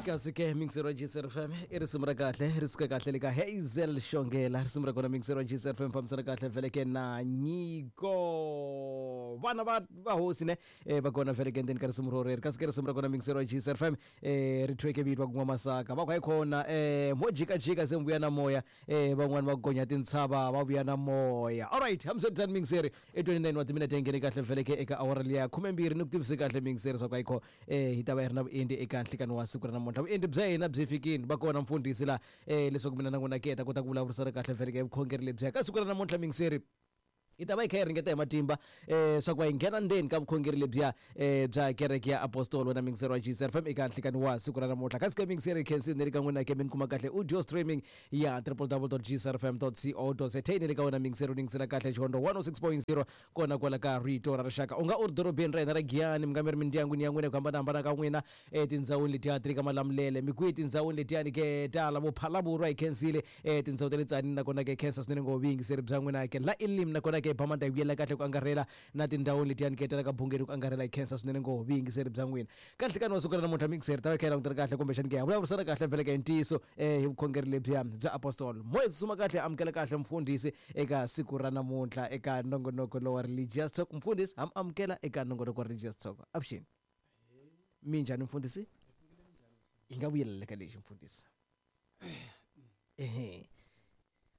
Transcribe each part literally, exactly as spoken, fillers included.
Kasi ke mixer wa G S F M i risimu ra kahle ri suka kahle le ka Hazel Xongela risimu ra kona mixer wa G S F M fambisana kahle vhele ke na Nyiko vana va va hosi ne eh, va kona vhele ke ndzeni ka risimu roreri kasi ke risimu ra kona mixer wa G S F M eh, ri thweke vito va ku N'wamasaka va ku hayi khona eh, mo jikajika se mi vuya na moya eh, van'wani va gonya tintshava va vuya na moya. Alright, hambiswiritano mixer i twenty-nine wa timinete yi nghene kahle vhele ke eka awara liya khumembirhi ni ku tivise kahle mixer swa ku hayi kho eh, hi ta va hi ri na vuendli eka nhlikani wa siku ra namuntlha. Vuendli bya hina byi fikini va kona mfundhisi la eh, leswaku mina na n'wina ke hi ta kota ku vulavurisana kahle vhele ke vukhongeri lebyiya ka siku ra namuntlha mixer hi ta va hi kha hi ringeta hi matimba eh, swa ku va hi nghena ndzeni ka vukhongeri lebyiya eh, bya kereke ya apostol wena mixer wa G S F M eka nhlikani wa siku ra namuntlha. Kasi ke mixer khensini ni ri ka n'wina ke mi ni kuma kahle audio streaming ya w w w dot g s f m dot co dot z a ni ri ka wena mixer u ningisela kahle Xihondzo one oh six point zero kona kwala ka Rito ra Rixaka. U nga u ri dorobeni ra hina ra Giyani mi nga mi ri mindyangwini ya n'wina ku hambanahambana ka n'wina etindhawini letiya ti ri ka Malamulele mi kwihi tindhawini letiyani ke tala vo Phalaborwa hi khensile eh, tindhawu ta le Tzaneen nakona ke khensa swinene ngopfu vuyingiseri bya n'wina ke la Elim nakona ke Bamanda hi vuyela kahle ku angarhela na tindhawini letiyani ke tala ka Bungeni ku angarhela hi khensa swinene ngopfu vuyingiseri bya n'wina. Ka nhlikani wa siku ra namuntlha mixer ta va kha hi langutela kahle kumbexani ke ha vulavurisana kahle vhele ke hi ntiyiso eh, hi vukhongeri lebyiya bya apostol. Moya tsutsuma kahle amukela kahle mfundhisi eka siku ra namuntlha eka nongonoko lowa Religious Talk. Mfundhisi ha mi amukela eka nongonoko wa Religious Talk. Avuxeni. Minjhani mfundhisi? Hi nga vuyelela ka lexi mfundhisi. Ehe.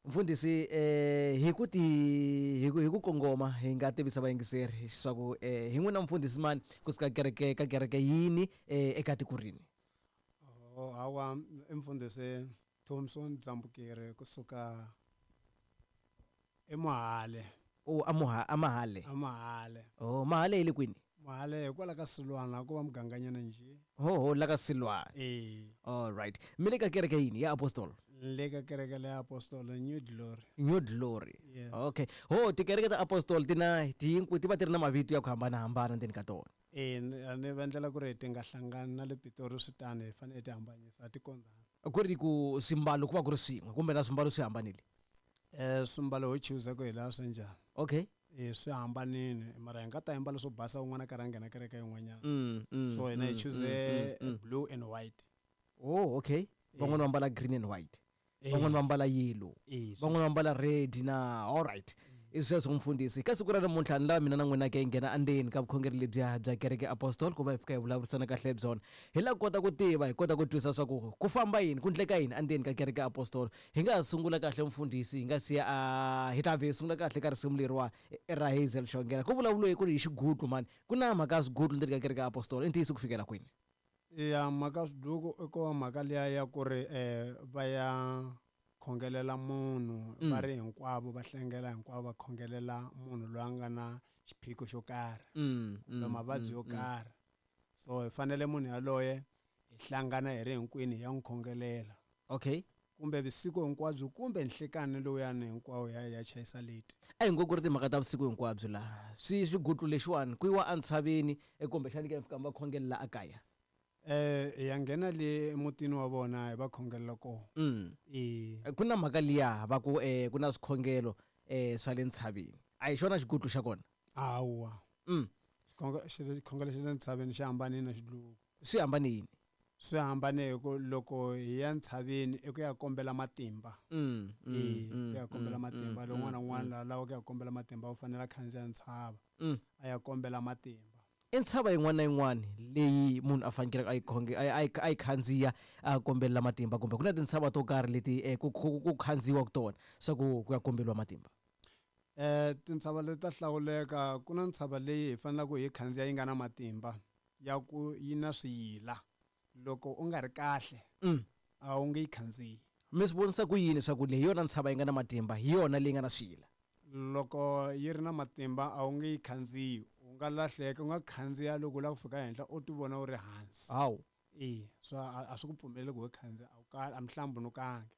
Mfundhisi eh hi ku ti hi ku hi ku kongoma hi nga tivisa vayingiseri leswaku eh hi n'wina mfundhisi mani kusuka kereke ka kereke yini eh eka tiko rini? Oh hawa i mfundhisi Thompson Dzambukeri kusuka eMohale. Oh amuha amahale. Amahale. Oh Mahale yi le kwini? Mahale hikwala ka Silwana ku va muganganyana njhe. Ho ho la ka Silwana. Eh. All right. Mi le ka kereke yini ya apostol? Le ka kereke le apostol New Glory. New Glory. Yes. Okay. Ho tikereke ta apostol ti na ti ti va ti ri na mavito ya ku hambanahambana ndzeni ka tona. Eh ni va endlela ku ri ti nga hlangani na le Pitori swi tani hi fanele ti hambanyisa ti kondzana. Ku ri ku swimbalo ku va ku ri swin'we kumbe na swimbalo swi hambanile? Eh swimbalo ho chuza ku hi laha swi njhani. Okay. Eh swi hambanile mara hi nga ta ambala swo basa un'wana karhi a nghena kereke yin'wanyana. Mm, mm, So hina hi mm, choose mm, mm, mm. blue and white. Oh okay. Van'wana va ambala green and white. Eh. Van'wana va ambala yellow. Eh, Van'wana va ambala red na all right. I sweswo mfundhisi. Ka siku ra namuntlha ni lava mina na n'wina ke hi nghena endzeni ka vukhongeri lebyiya bya kereke apostol ku va hi fika hi vulavurisana kahle byona. Hi lava ku kota ku tiva hi kota ku twisisa swa ku ku famba yini ku endleka yini endzeni ka kereke apostol. Hi nga ha sungula kahle mfundhisi hi nga siya a hi ta vhe hi sungula kahle ka risimu leriwa ra Hazel Xongela. Ku vulavuriwe ku ri hi xigutlu mani ku na mhaka ya swigutlu ndzeni ka kereke apostol i ntiyiso ku fikela kwini? Ya mhaka ya swiduku i ku va mhaka liya ya ku ri eh va ya khongelela munhu Mm. va ri hinkwavo va hlengela hinkwavo va khongelela munhu loyi a nga na xiphiqo xo karhi Mm, kumbe mm, mavabyi yo mm, karhi. So hi fanele munhu yaloye hi hlangana hi ri hinkwenu hi ya n'wi khongelela. Okay. Kumbe vusiku hinkwabyo kumbe nhlikani lowuyani hinkwawo ya ya chayisa leti. A hi ngo ku ri timhaka ta vusiku hinkwabyo laha swi swigutlu lexiwani ku yiwa entshaveni kumbexani ke fika va khongelela ekaya. Eh hi ya nghena le emutini wa vona hi va khongelela kona. Mm. Eh. Ku na mhaka liya va ku eh ku na swikhongelo eh swa le ntshaveni. A hi xona xigutlu xa kona? Hawa. Mm. Xikhongelo xikhongelo xa le ntshaveni xi hambanile na xidluku. Swi hambane yini? Swi hambane hi ku loko hi ya ntshaveni i ku ya kombela matimba. Mm, mm, Eh, mm, ku ya kombela mm, matimba. mm, Loko un'wana na mm, un'wana mm. la lavaka ku ya kombela matimba u fanele a khandziya ntshava. Mm. A ya kombela matimba. I ntshava yin'wana na yin'wana leyi munhu a fanekele a yi khonge a yi a yi khandziya a kombelela matimba kumbe ku na tintshava to karhi leti eh, ku ku ku khandziyiwaka tona swa ku ku ya komberiwa matimba. Eh tintshava leti ta hlawuleka ku na ntshava leyi hi faneleke hi khandziya yi nga na matimba ya ku yi na swiyila loko u nga ri kahle Mm. a wu nge yi khandziyi. Mi swi vonisa ku yini swa ku leyi hi yona ntshava yi nga na matimba hi yona leyi nga na swiyila? Loko yi ri na matimba a wu nge yi khandziyi u nga lahleka u nga khandziya loko u lava ku fika henhla u ti vona u ri hansi. Hawu. Eh so a a swi ku pfumeleli ku u khandziya a wu kali a mihlambunukangi.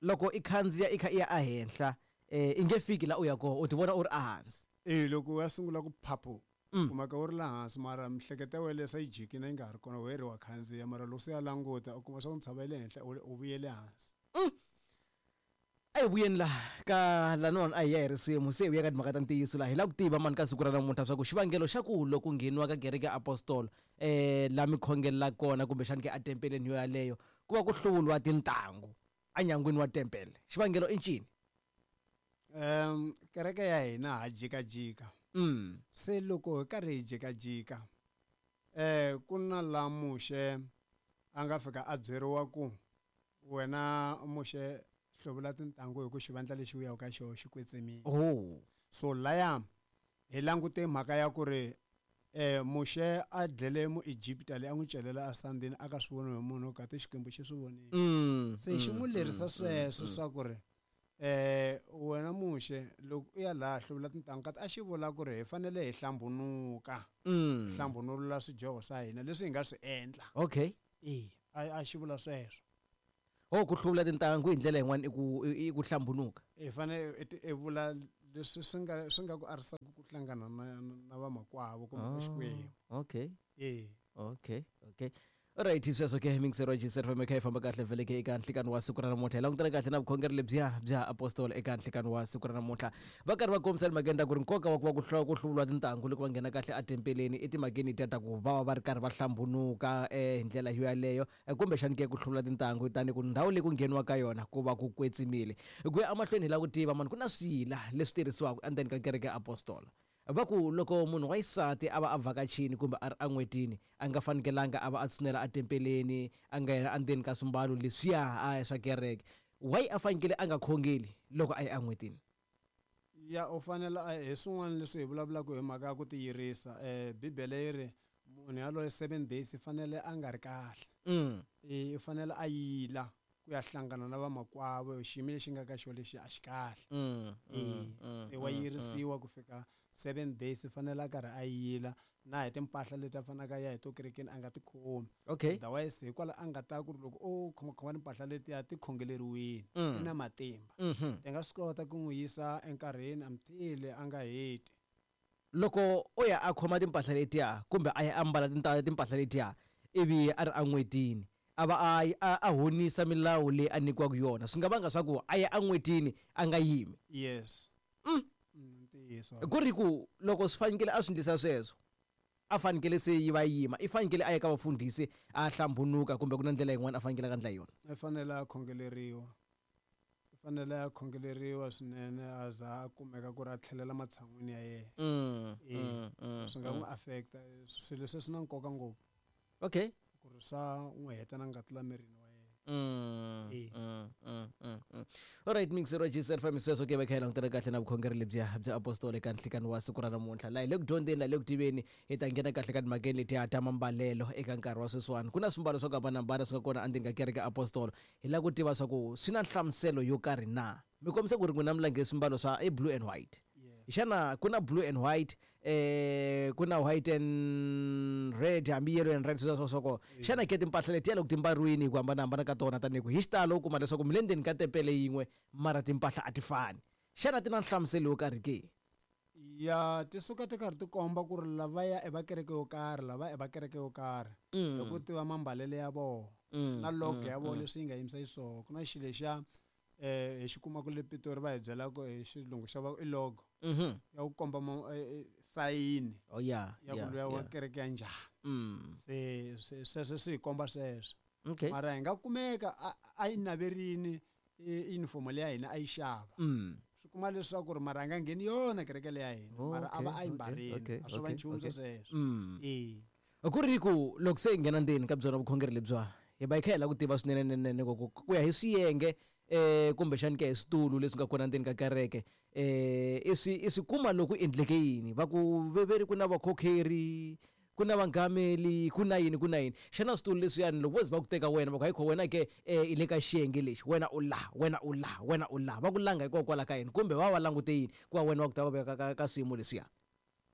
Loko i khandziya i kha i ya ehenhla eh i nge fiki la u ya kona u ti vona u ri ehansi. Eh loko u ya sungula ku phaphu Mm. kumeka u ri la hansi mara miehleketo ya wena se yi jikile yi nga ha ri kona we ri wa khandziya mara loko se ya languta u kuma swa ku ntshava yi le henhla u vuyele hansi. Mm. A hi vuyeni laha ka laniwani a hi ya hi risimu se hi vuya ka timhaka ta ntiyiso laha hi lava ku tiva mani ka siku ra namuntlha swa ku xivangelo xa ku loko ngheniwa ka kereke ya apostolo um laha mi khongelela kona kumbexani ke atempeleni yo yaleyo ku va ku hluvuriwa tintangu enyangweni wa tempele xivangelo i ncini um kereke ya hina ha jikajika mm. se loko hi karhi hi jikajika eh ku na la Muxe a nga fika a byeriwa ku wena Muxe hluvula tintangu hi ku xivandla lexi u yaka ka xona xi kwetsimile oh. so laya hi langute mhaka ya ku ri eh Muxe a dlele muEgipta leyi a n'wi celela esandini a ka swi voni hi munhu kati Xikwembu xi swi vonile mm. se xi n'wi lerisa mm, sweswo mm, swa ku ri eh wena Muxe loko u ya laha hluvula tintangu kati a xi vula ku ri hi fanele hi hlambunuka mm. hlambunulula swidyoho swa hina leswi hi nga swi endla okay e a a xi vula sweswo oh ku hluvula tintangu hi ndlela yin'wana i ku i i ku hlambunuka hi fanele i ti- i vula leswi swi nga swi nga ku arisaka ku hlangana na na vamakwavo kumbe Oh, Xikwembu okay e okay okay alright sweswo ke mingisero wa G S F M kha yi famba kahle vhele ke eka nhlikani wa siku ra namuntlha hi langutana kahle na vukhongeri lebyiya bya apostolo eka nhlikani wa siku ra namuntlha va karhi va kombisa timhakeni ta ku ri nkoka wa ku va ku hlu- ku hluvuriwa tintangu loko va nghena kahle atempeleni etimhakeni letiya ta ku va va va ri karhi va hlambunuka um hi ndlela yo yaleyo eh, kumbexani ke ku hluvula tintangu tani ku ndhawu leyi ku ngheniwa ka yona ku va ku kwetsimile ku ya emahlweni hi lava ku tiva mani ku na swiyila leswi tirhisiwaka endzeni ka kereke ya apostola va ku loko munhu wa xisati a va a vhakachini kumbe a ri en'hwetini a nga fanekelanga a va a tshunela atempeleni a nga yena endzeni ka swimbalo leswiya a swa kereke why a fanekele a nga khongeli loko a ya en'hwetini ya u fanele a- hi swin'wana leswi hi vulavulaka hi mhaka ya ku tiyirisa um bibele yi ri munhu yaloye seven days i fanele a nga ri kahle mm. e u fanele a yila ku ya hlangana na vamakwavo xiyimo lexi nga ka xona lexi a xi kahle Mm, e mm, mm, se wa mm, yirisiwa ku fika seven days i fanele a karhi a yila na hi timpahla leti a faneleke a ya hi to kerekeni a nga ti khomi okay otherwise hikwalaho a nga ta ku ri loko o khomakhoma timpahla letiya ti khongeleriwile ti Mm. na matimba Mhm. ti nga swi kota ku n'wi yisa enkarhini until a nga heti loko o ya a khoma timpahla letiya kumbe a ya ambala tinta- timpahla letiya ivi a ri en'hwetini a va a a a honisa milawu leyi a nyikiwaka yona swi nga vanga swa ku a ya en'hwetini a nga yimi yes Mm. Mm, ntiyiso ku ri ku loko swi fanekele a swi endlisa sweswo a fanekele se yi va yima i fanekele a ya ka vafundhisi a hlambunuka kumbe ku na ndlela yin'wana a fanekele a ka ndla yona i fanele a khongeleriwa i fanele a khongeleriwa swinene a za a kumeka ku ri a tlhelela matshan'wini ya yena mm, Eh, mm, mm, swi nga mm. n'wi affecta swilo leswi swi na nkoka ngopfu okay ku ri swa n'wi heta na ngati la mirini wa yena Mm, Eh. mm, mm, mm, mm. Alright mixer wa G S F M sweswo ke va kha hi langutana kahle na vukhongeri lebyiya bya apostolo eka nhlikani wa siku ra namuntlha laha hi le ku dyondzeni laha hi le ku tiveni hi ta nghena kahle ka timhakeni letiya ta mambalelo eka nkarhi wa sweswiwani ku na swimbalo swa ku hambanahambana swi nga kona endzeni ka kereke ya apostolo hi lava ku tiva swa ku swi na nhlamuselo yo karhi na mi kombisa ku ri n'wina mi lange swimbalo swa i blue and white yes xana ku na blue and white eh ku na white and red hambi yellow and red sweswo swa ko xana ke timpahla letiya loko ti mbariwini hi ku hambanahambana ka tona tanihi ku hi xitalo u kuma leswaku mi le ndzeni ka tempele yin'we mara timpahla a ti fani xana ti na nhlamuselo yo karhi ke ya ti suka ti karhi ti komba ku ri lavaya i va kereke yo karhi lava i va kereke yo karhi hi ku tiva mambalelo ya vona Mm, na logo mm, ya vona mm. leswi yi nga yimisa xiswona ku na xilo lexiya um hi xi kumaka le Pitori va hi byelaka hi xilungu xa va i logo Mhm. ya ku komba ma- eh, eh, sayini oh yeah ya ku yeah, luya wa yeah. kereke ya njhani Mm. se se- sweswo swi hi komba sweswo okay mara hi nga kumeka a- a yi naverini i- uniform leya hina a yi xava mm. swi kuma leswaku ri mara a nga ngheni yona kereke leya hina mara a va a yi Okay, okay, mbarini okay, a swo va okay, nchumu okay. sweswo Mm. e ku ri ku loko se hi nghena ndzeni ka byona vukhongeri lebyiwa hi va hi kha hi lava ku tiva swinene nene ku ku- ku ya hi swiyenge eh kumbexani ke hi switulu leswi nga kona ndzeni ka kereke eh i swi i swi kuma loko endleke yini va ku veveri ku na vakhokheri ku na vangameli ku na yini ku na yini xana switulu leswiyani loko vo ze va ku teka wena va ku hayi kho wena ke eh, i le ka xiyenge lexi wena u laha wena u laha wena u laha va ku langa hikokwalaho ka yini kumbe va va langute yini ku va wena va ku ta va veka ka, ka swiyimo leswiya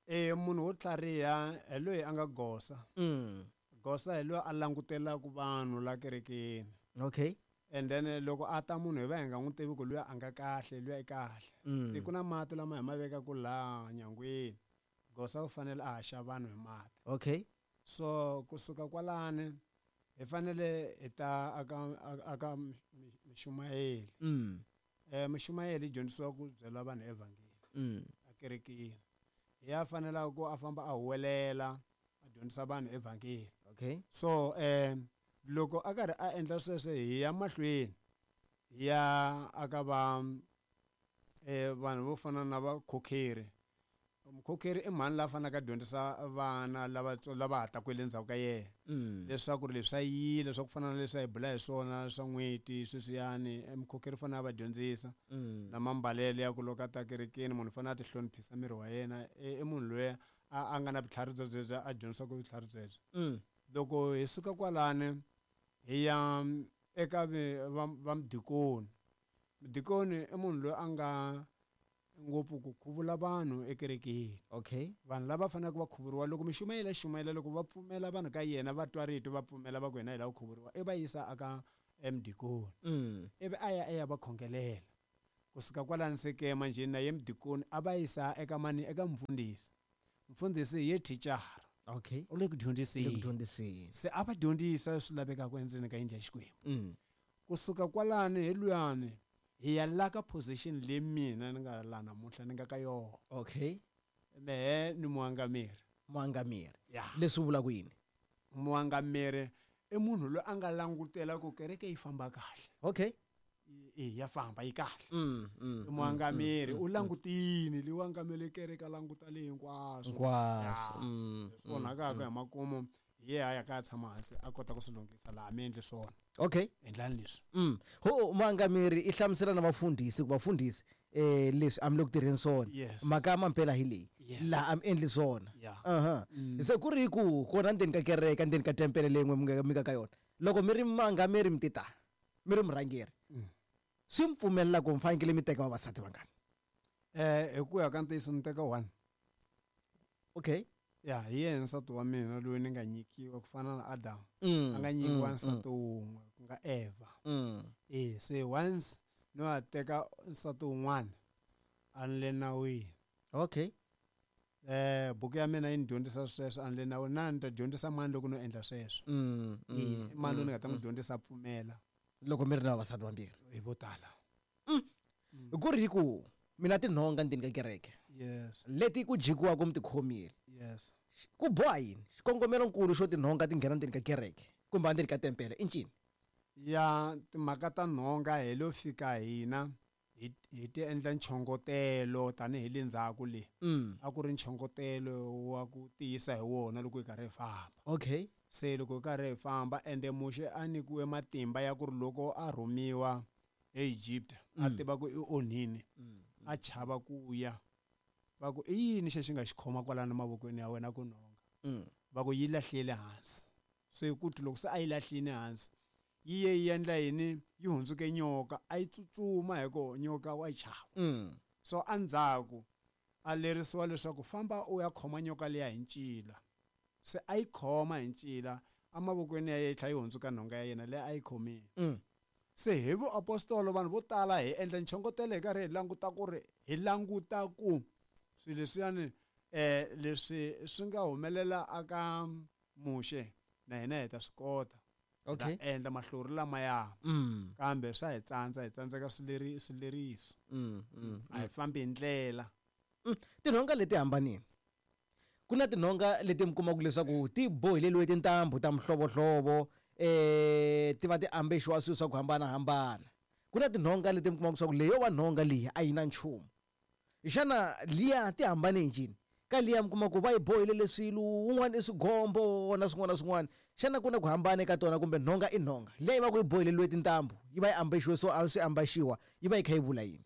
e munhu wo tlhariha hi loyi a nga gosa mm. gosa hi loyi a langutelaka vanhu la kerekeni okay and then eh, loko a ta munhu hi va hi nga n'wi tivi ku luya a nga kahle luya i kahle Mm. se ku na mati lama hi ma vekaku laha nyangweni gosa u fanele a haxa vanhu hi mati okay so kusuka kwalani hi fanele hi ta aka aka mixumayeli mm. Eh mushumayeli dyondzisiwa ku byela vanhu evhangeli mm. akerekeni ya fanela ku a famba a huwelela a dyondzisa vanhu evhangeli. Okay. So eh loko a karhi a endla sweswo hi ya mahlweni ya aka va eh vanhu vo fana na vakhokheri. Mukhokheri i mhani la fanaka dyondzisa vana lava lava ha taku le ndzhaku ka yena mm. leswaku ri leswi a yile swa ku fana na leswi a hi bula hi swona swa n'hweti sweswiyani mukhokheri fanele a va dyondzisa mm. na mambalelo ya ku loko a ta kerekeni munhu fanele a ti hloniphisa miri wa yena i munhu loyi a a nga na vutlhari byebyo a dyondzisaka vutlhari byebyo. mm. Loko hi suka kwalani hi ya eka va mudikoni. Mudikoni i munhu loyi a nga ngopfu ku khuvula vanhu ekerekeni. Okay. Vanhu lava faneleke va khuvuriwa loko mishumayela xumayela loko va pfumela vanhu ka yena va twa rito va pfumela va ku hina hi lava ku khuvuriwa i va yisa aka emudikoni mm. ivi a ya a ya va khongelela. Kusuka kwalani se ke manjheni na ye mudikoni a va yisa eka mani eka mfundhisi. Mfundhisi hi ye thicara. Okay. U le ku dyondziseni. Le ku dyondziseni. Se a va dyondzisa swi lavekaka endzeni ka yindlu ya Xikwembu. mm. Kusuka kwalani hi luyani hi ya la ka position leyi mina ni nga la namuntlha ni nga ka yona. Okay. Mehe ni muangameri. Muangameri. Yeah. Leswi vula ku yini? Muangameri i munhu loyi a nga langutela ku kereke yi famba kahle. Okay. E ya famba yi kahle. Mm, mm, I muangameri mm, u langutini leyi angamele kereke a languta leyi hinkwaswo. Hinkwaswo. Mm. Leswi onhakaka hi makumu hi ye a ya ka tshama hansi a kota ku swi lunghisa laha mi endli swona. Okay. Endlani leswi. Mm. Ho muangameri i hlamusela na vafundhisi ku vafundhisi eh leswi a mi le ku tirheni swona. Yes. Mhaka ya mampela hi leyi. Yes. Laha a mi endli swona. Yeah. Aha. Mm. Se ku ri ku kona ndzeni ka kereke ndzeni ka tempele leyi n'we mi nga mi nga ka yona. Loko mi ri muangameri mi tita mi ri murhangeri. Mm. Swi mi pfumelela ku mi fanekele mi teka vavasati vangani? Eh hi ku ya ka ntiyiso ni teka one. Okay. Ya hi yena nsati wa mina loyi ni nga nyikiwa ku fana na Adam. Mm, A nga nyikiwa mm, nsati wun'we ku nga Eva. Mm. Eh se once no a teka nsati wun'wana a ni le nawini. Okay. Eh buku ya mina yi ni dyondzisa sweswo a ni le nawini na ni ta dyondzisa mani loko no endla sweswo. Mm, Eh mm, mani loyi ni mm, nga ta n'wi mm. dyondzisa a pfumela. Loko mi ri na vavasati vambirhi. Hi vo tala. Mm. Ku ri ku mina tinhonga ndzeni ka kereke. Yes. Leti ku jikiwaka mi ti khomile. Yes. Ku boha yini? Xikongomelonkulu xo tinhonga ti nghena ndzeni ka kereke kumbe endzeni ka tempele i ncini? Ya timhaka ta nhonga hi lo fika hina hi hi ti endla nchongotelo tanihi le ndzhaku le. Mm. A ku ri nchongotelo wa ku tiyisa hi wona loko hi karhi hi famba. Okay. Se loko hi karhi hi famba ende Muxe a nyikiwe matimba ya ku ri loko a rhumiwa eEgypt a Mm. tiva ku i onhini Mm. a chava ku ya. Va ku i yini xexi nga xi khoma kwalano mavokweni ya wena ku nhonga? Mm. Va ku yi lahlile hansi. Se ku ti loko se a yi lahlile hansi yi ye yi endla yini yi hundzuke nyoka a yi tsutsuma hi ku nyoka wa yi chava. Mm. So endzhaku a lerisiwa leswaku famba u ya khoma nyoka liya hi ncila. Se a yi khoma hi ncila emavokweni ya yena yi tlhela yi hundzuka nhonga ya yena leyi a yi khomile. Mm. Se hi vuapostolo vanhu vo tala hi endla nchongotelo hi karhi hi languta ku ri hi languta ku swilo leswiyani eh leswi swi nga humelela aka Muxe na hina hi ta swi kota. Hi ta Okay. endla mahlori lamaya. Mm. Kambe swa hi tsandza hi tsandzeka swileri swileriso. Mm, mm, A hi fambi hi ndlela. Mm. Tinhonga leti hambanile. Ku na tinhonga leti mi kumaka leswaku ti boheleriwe tintambu ta mihlovohlovo eh ti va ti ambexiwa swilo swa ku hambanahambana. Ku na tinhonga leti mi kumaka leswaku leyo wa nhonga leyi a yi na nchumu. Xana liya ti hambane njhani? Ka liya mi kuma ku va yi bohelele swilo wun'wana i swigombo na swin'wana na swin'wana. Xana ku na ku hambana eka tona kumbe nhonga i nhonga? Leyi yi va ku yi boheleriwe tintambu yi va yi ambexiwe so a swi ambaxiwa yi va yi kha yi vula yini?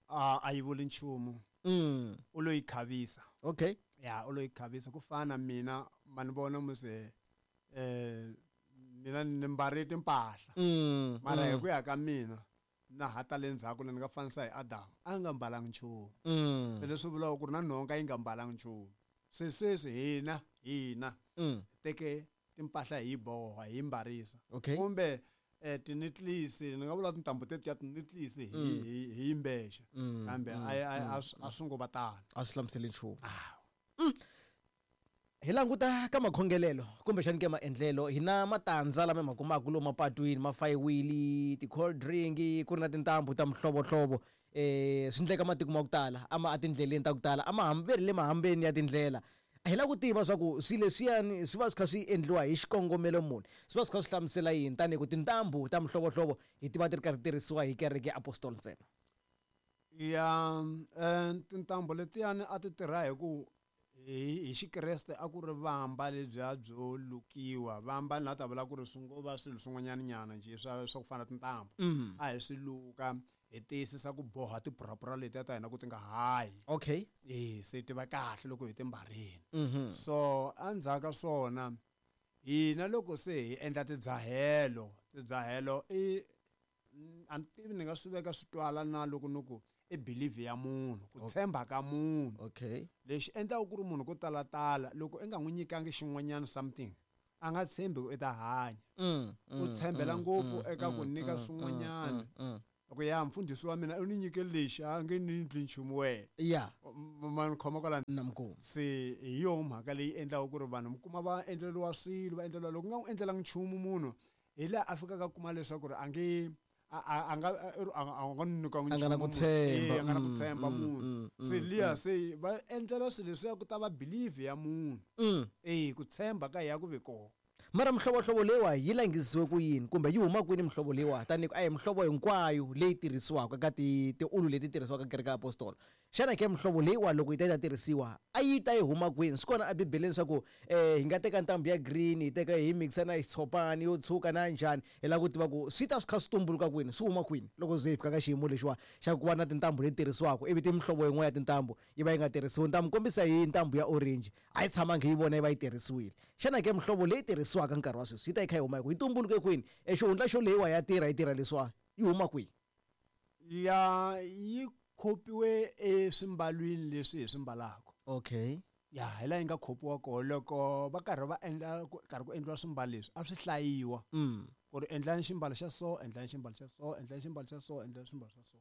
A a yi vuli nchumu. Mm. U lo yi khavisa. Okay. Ya u lo yi khavisa ku fana mina ma ni vona muse eh mina ni mbale timpahla. Mm. Mara hi mm. ku ya ka mina na hata le ndzhaku ni nga fanisa hi Adam a nga mbalanga nchumu. Mm. Se leswi vulaka ku ri na nhonga yi nga mbalanga nchumu. Se sweswi hina hina Mm. teke timpahla hi boha hi mbarisa. Okay. Kumbe eh tinetlis ni nga vula tintambu tetiya tinetlis hi Mm. hi hi yimbexa. Mm, Kambe mm, a a mm, a swi ngo va tano. A swi hlamuseli nchumu. Ah. Mm. Hi languta ka makhongelelo kumbexani ke maendlelo hi na matandza lama hi ma kumaka lomu mapatwini ma fayiwile ti-cold drink ku ri na tintambu ta mihlovohlovo eh swi ndleka matiko ma ku tala ama etindleleni ta ku tala ama hamberi le mahambeni ya tindlela. Hi lava ku tiva swa ku swilo leswiyani swi va swi kha swi endliwa hi xikongomelo muni, swi va swi kha swi hlamusela yini tanihi ku tintambu ta mihlovohlovo hi tiva ti ri karhi tirhisiwa hi kereke ya apostol ntsena? Ya eh, tintambu letiyani a ti tirha hi ku hi hi xikreste a ku ri vamba lebyiya byo lukiwa. Vamba ni la ta vula ku ri swi ngo va swilo swin'wanyana nyana njhe swa swa ku fana na tintambu. Mm. A hi swi luka hi tiyisisa ku boha tipurapura letiya ta hina ku ti nga hayi. Okay. E se ti va kahle loko hi ti mbarile. Mhm. So endzhaku ka swona hina loko se hi endla tidzahelo, tidzahelo i a ni tivi ni nga swi veka swi twala na loko ni ku i belief ya munhu, ku tshemba ka munhu. Okay. Lexi endlaka ku ri munhu ko talatala loko i nga n'wi nyikangi xin'wanyana something a nga tshembi ku i ta hanya. Mm, U mm, tshembela mm, ngopfu mm, eka ku mm, nyika mm, swin'wanyana. mm, mm. Loko ya mfundhisi wa mina u ni nyike lexi a nge ni endli nchumu wena. Ya. Ma ni khoma kwalano. Na mukulu. Se hi yoho mhaka leyi endlaka ku ri vanhu mi kuma va endleriwa swilo va endleriwa loko u nga n'wi endlelangi nchumu munhu hi laha a fikaka a kuma leswaku ri a nge a a a nga a a nga ni nyikangi A nga na ku nchumu munhu. tshemba. Eh, a nga na ku Mm, tshemba mm, munhu. mm, Se mm, liya se va endlela swilo leswiya ku ta va belief ya munhu. Mm. Eh ku tshemba ka ya ku ve kona. Mara mihlovohlovo leyiwa yi langisiwe ku yini kumbe yi huma kwini mihlovo leyiwa tanihi ku a hi mihlovo hinkwayo leyi tirhisiwaka ka ti tiulu leti tirhisiwaka kereke ya apostolo? Xana ke mihlovo leyiwa loko yi ta yi ta tirhisiwa a yi ta yi huma kwini? Swi kona ebibeleni swa ku eh hi nga teka ntambu ya green hi teka hi mixa na xitshopani yo tshuka na njhani? Hi lava ku tiva ku swi ta swi kha swi tumbuluka kwini, swi huma kwini loko ze hi fika ka xiyimo lexiwa xa ku va na tintambu leti tirhisiwaka ivi ti mihlovo yin'wana ya tintambu yi va yi nga tirhisiwi. Ni ta mi kombisa hi ntambu ya orange, a yi tshamangi hi vona yi va yi tirhisiwile. Xana ke mihlovo leyi tirhisiwaka nkarhi wa sweswi yi ta yi kha yi huma hi ku yi tumbuluke kwini? E xihundla xo leyiwa ya tirha yi tirha leswiwa yi huma kwihi? Ya yi khopiwe eswimbalwini leswi hi swi mbalaka. Okay. Ya hi laha yi nga khopiwa kona loko va karhi va endla ku karhi ku endliwa swimbalo leswi a swi hlayiwa. Mm. Ku ri endlani ximbalo xa so, endlani ximbalo xa so, endlani ximbalo xa so, endlani ximbalo xa so.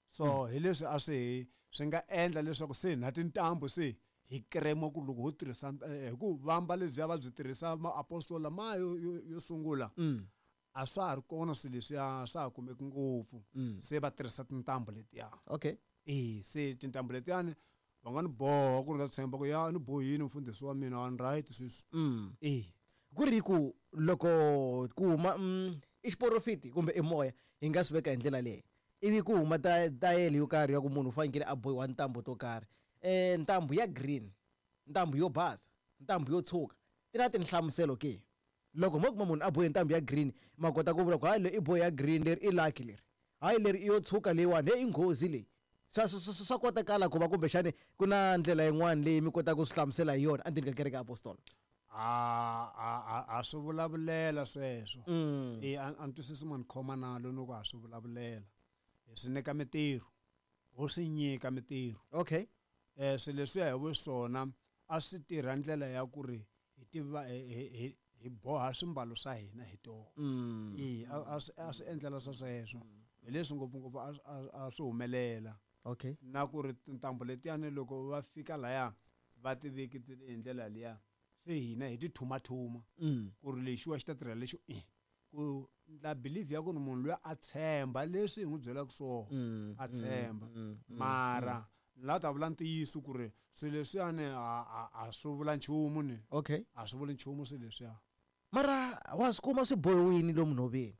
So hi leswi a swi hi swi nga endla leswaku se na tintambu se hi krema ku loko ho tirhisa hi ku vamba lebyiya va byi tirhisa maapostolo lama yo yo yo sungula. Mm. A swa ha ri kona swilo leswiya swa ha kumeki ngopfu. Mm. Se va tirhisa tintambu letiya. Okay. E se tintambu letiyani va nga ni boha ku ri ta tshemba ku ya ni bohini mfundhisi wa mina a ni right sweswi. Mm. E Ku ri ku loko ku huma mm, i xiporofiti kumbe i moya hi nga swi veka hi ndlela leyi ivi ku huma ta tayele yo karhi ya ku munhu u fanekele a bohiwa ntambu to karhi. Eh ntambu ya green, ntambu yo basa, ntambu yo tshuka ti na tinhlamuselo ke? Loko mo kuma munhu a bohe ntambu ya green ma kota ku vula ku hayi leyi i bohe ya green leri i lucky leri, hayi leri i yo tshuka leyiwani he i nghozi leyi. Swa swa swa kotakala ku va kumbexani ku na ndlela yin'wana leyi mi kotaka ku swi hlamusela hi yona endzeni ka kereke ya apostolo? A a a a swi vulavulela sweswo. Mm. E a ni twisisi ma ni khoma nalo ni ku a swi vulavulela. Hi swi nyika mitirho, ho swi nyika mitirho. Okay. Eh swilo leswiya hi vuswona a swi tirha ndlela ya ku ri hi tiva hi hi hi boha swimbalo swa hina hi tona. Mm. E a swi a swi endlela swa sweswo. Hi leswi ngopfungopfu a a swi humelela. Okay. Na ku ri tintambu letiyani loko va fika laya va ti veketile hi ndlela liya se hina hi ti thumathuma. Mm. Ku ri lexiwa xi ta tirha lexi i ku ndla believe ya ku ri munhu luya a tshemba leswi hi n'wi byelaka swona. Mm. A tshemba. Mm. Mara la ta vula ntiyiso ku ri swilo leswiyani a a a swi vula nchumu ni. Okay. A swi vuli nchumu swilo leswiya. Mara wa swi kuma swi bohiwini lomu nhoveni?